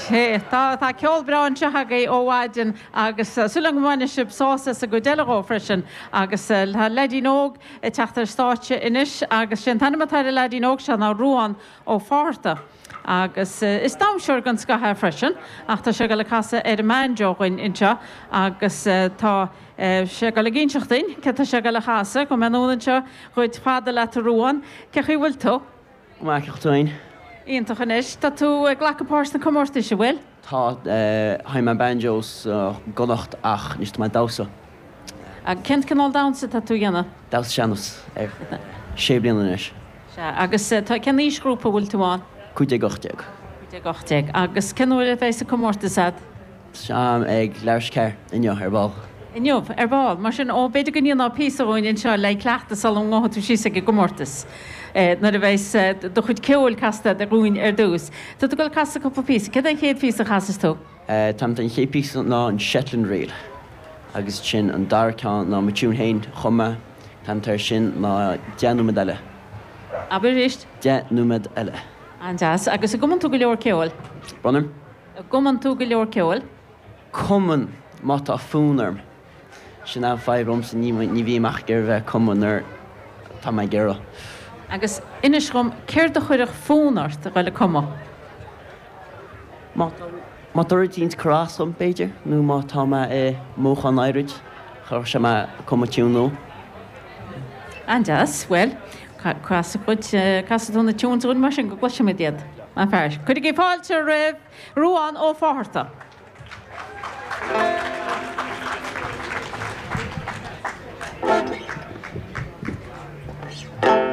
Sea, tá, tá ceol breá anseo agaibh ó mhaidin agus súil agam go mbainfidh sibh sásamh as an gcuid eile dhó freisin. Agus tá leaidín óg ag teacht ar stáitse anois agus sé an t-ainm atá ar an leaidín óg seo ná Ruán Ó Fátharta. Agus is damhsóir den scoth é freisin ach tá sé ag dul ag casadh ar an mbanjo dhuinn anseo agus tá sé ag dul ag inseacht duinn céard tá sé ag dul a chasadh. Gabhfaidh mé anonn anseo dhuit fada leat a Ruán. Cé chaoi bhfuil tú? Go maith, cén chaoi tú fhéin? Iontach anois. Tá tú ag glacadh páirt sna comórtais, an bhfuil? Tá, sheinn mé banjo sa gConnacht ach anois tá mé ag damhsa. Cén cineál damhsa atá tú a dhéanamh? Damhsa sean-nós ar sé bliana anois. Sea, agus tá, cén aoisghrúpa a bhfuil tú ann? 15, 18. 15, 18. Agus cén uair a bheidh an comórtas a'd? Tá ag leathuair tar éis 4 inniu, ar ball. Inniu, ar ball. Mar sin, ó, b'fhéidir go ndéanfá píosa dhúinn anseo le cleachtadh sula ngabhfaidh tú síos ag an gcomórtas, nuair a bheas do chuid ceoil casta agat dhúinn ar dtús. Tá tú ag dul ag casadh cúpla píosa. Céard é an chéad phíosa a chasfas tú? Tá an chéad phíosa ná an Shetland Reel agus ansin an dara ceann ná mo tiún féin a chum mé, an t-ainm atá air sin ná Deich Nóiméad Eile. Abair arís. Deich Nóiméad Eile. An-deas. Agus an gcumann tú go leor ceoil? Brón orm? An gcumann tú go leor ceoil? Cumann, má tá fonn orm. Sin an fadhb liomsa, ní bhím ach ag iarraidh bheith ag cumadh nuair atá mé ag iarraidh. Agus inis dhom, céard a chuirfeadh fonn ort a dhul ag cumadh? Má tá, má tá rud éicint ag cur as dhom, b'fhéidir, nó má tá mé i mothúchán áirid, chuirfeadh sé mé ag cumadh tiún nua. An-deas. Bhuel, casfaidh muid, casfaidh tú na tunes dhúinn mar sin go gcloisfimid iad. Maith fear. Cuirigí fáilte roimh Ruán Ó Fátharta.